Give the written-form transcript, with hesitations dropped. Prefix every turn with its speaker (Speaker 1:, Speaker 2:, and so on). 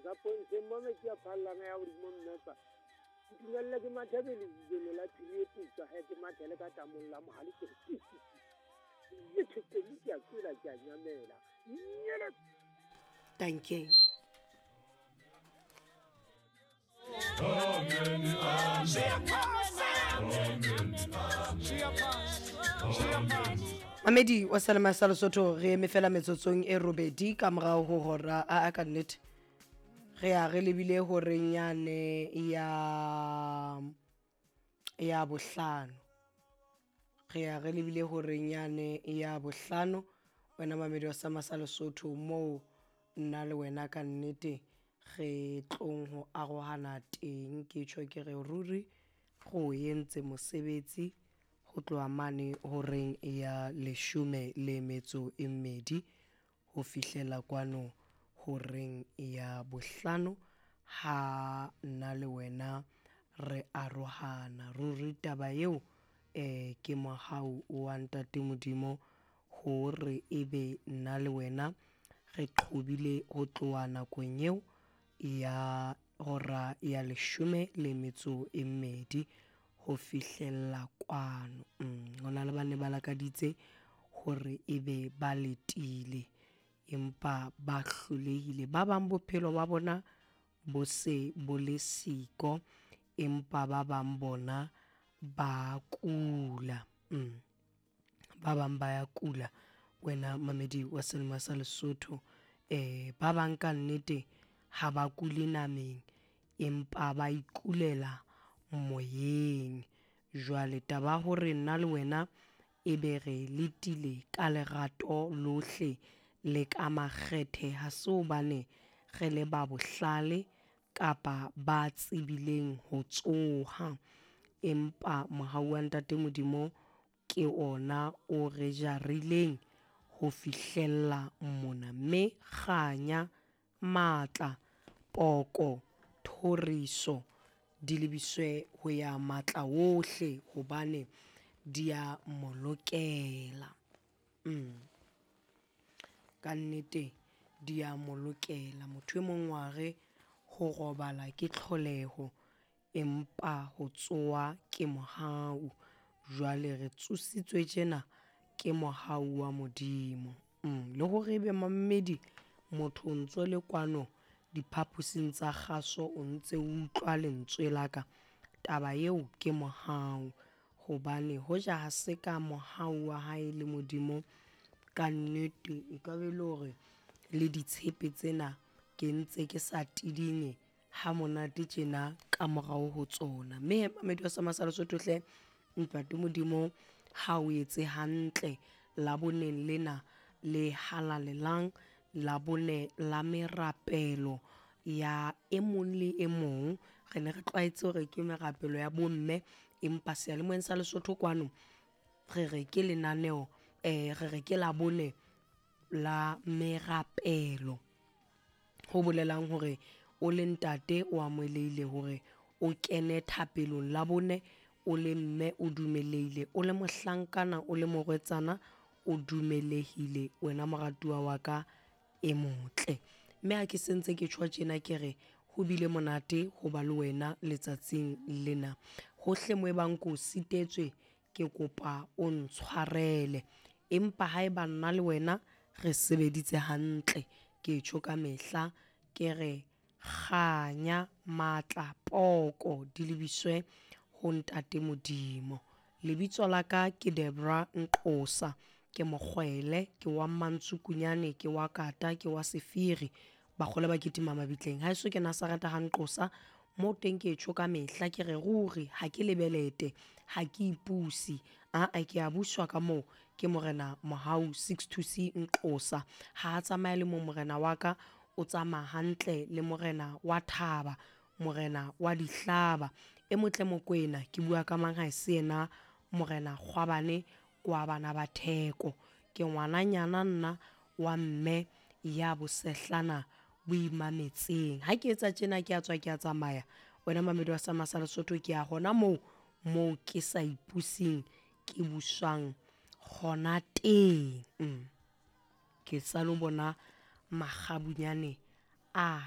Speaker 1: Sa pontsheng mo metsi a phallana ya godimo mmepa. Ntumelle ke mathe pele lebelo la phiri e putswa he ke mathele ka tamong la mohale ke re ti ti ti. Le thekeng ke a tswela ke a nyamela. Nyele.
Speaker 2: Dankie. Mamedi wa Selema sa Lesotho re eme fela metsotsong e robedi ka morago go hora a a ka nnete re ya re lebile horeng yane ya ya bohlano re ya re lebile horeng yane ya bohlano wena mamedi wa Selema sa Lesotho moo nna le wena ka nnete re tlong ho arohana teng. Ke tjho ke re ruri go entse mosebetsi ho tloha mane horeng ya leshome le metso e mmedi ho fihlela kwano horeng ya bohlano ha nna le wena re arohana. Ruri taba eo um ke mohau wa Ntate Modimo hore ebe nna le wena re qhobile ho tloha nakong eo ya hora ya leshome le metso e mmedi ho fihlella kwano. Ho na le ba ne ba lakaditse hore ebe ba letile empa ba hlolehile. Ba bang bophelo ba bona bo se bo le siko empa ba bang bona ba kula. Ba bang ba ya kula wena mamedi wa Selemo sa Lesotho. Ba bang ka nnete ha ba kule nameng empa ba ikulela moyeng. Jwale taba ya hore nna le wena ebe re letile ka lerato lohle le ka makgethe ha se hobane re le ba bohlale kapa ba tsebileng ho tsoha, empa mohau wa Ntate Modimo ke ona o re jarileng ho fihlella mona. Mme kganya, matla, poko, thoriso di lebiswe ho ya matla ohle hobane di a mo lokela. Ka nnete di a mo lokela. Motho e mong wa re ho robala ke tlholeho empa ho tsoha ke mohau. Jwale re tsositswe tjena ke mohau wa Modimo. Le hore ebe mamedi motho o ntso le kwano diphaposing tsa kgaso o ntse o utlwa lentswe la ka, taba eo ke mohau. Hobane hoja ha se ka mohau wa hae le Modimo ka nnete e ka be le hore le ditshepe tsena ke ntse ke sa tidinye ha monate tjena ka morao ho tsona. Mme mamedi wa Selema sa Lesotho hle Ntate Modimo ha o etse hantle Laboneng lena le halalelang, Labone la merapelo ya e mong le e mong. Re ne re tlwaetse hore ke merapelo ya bomme, empa seyalemoyeng sa Lesotho kwano re re ke lenaneo re re ke Labone la merapelo. Ho bolelang hore o le ntate o amohelehile hore o kene thapelong Labone, o le mme o dumelehile, o le mohlankana, o le morwetsana o dumelehile wena moratuwa wa ka e motle. Mme ha ke sentse ke tjho tjena ke re ho bile monate ho ba le wena letsatsing lena. Hohle mo ebang ko sitetswe ke kopa o ntshwarele, empa haeba nna le wena re sebeditse hantle, ke tjho ka mehla ke re kganya, matla, poko di lebiswe ho Ntate Modimo. Lebitso la ka ke Debra Nqosa, ke mokgwele, ke wa Mantsukunyane, ke wa Kata, ke wa Sefiri. Bakgole ba kitima mabitleng. Haeso ke Nazareth ha Nqosa, mo teng ke tjho ka mehla ke re ruri ha ke lebelete, ha ke ipuse. Aa ke a buswa ka moo ke Morena Mohau 62C Nqosa. Ha a tsamaye le mo morena wa ka, o tsamaya hantle le morena wa thaba, morena wa dihlaba. E motle Mokwena, ke bua ka mang ha e se yena morena Kgwabane kwa bana ba Theko. Ke ngwananyana nna wa mme ya bosehlana bo imametseng. Ha ke etsa tjena ke a tswa ke a tsamaya. Wena mamedi wa Selema sa Lesotho ke ya hona moo moo ke sa ipusing ke buswang hona teng. Ke sa lo bona makgabunyane a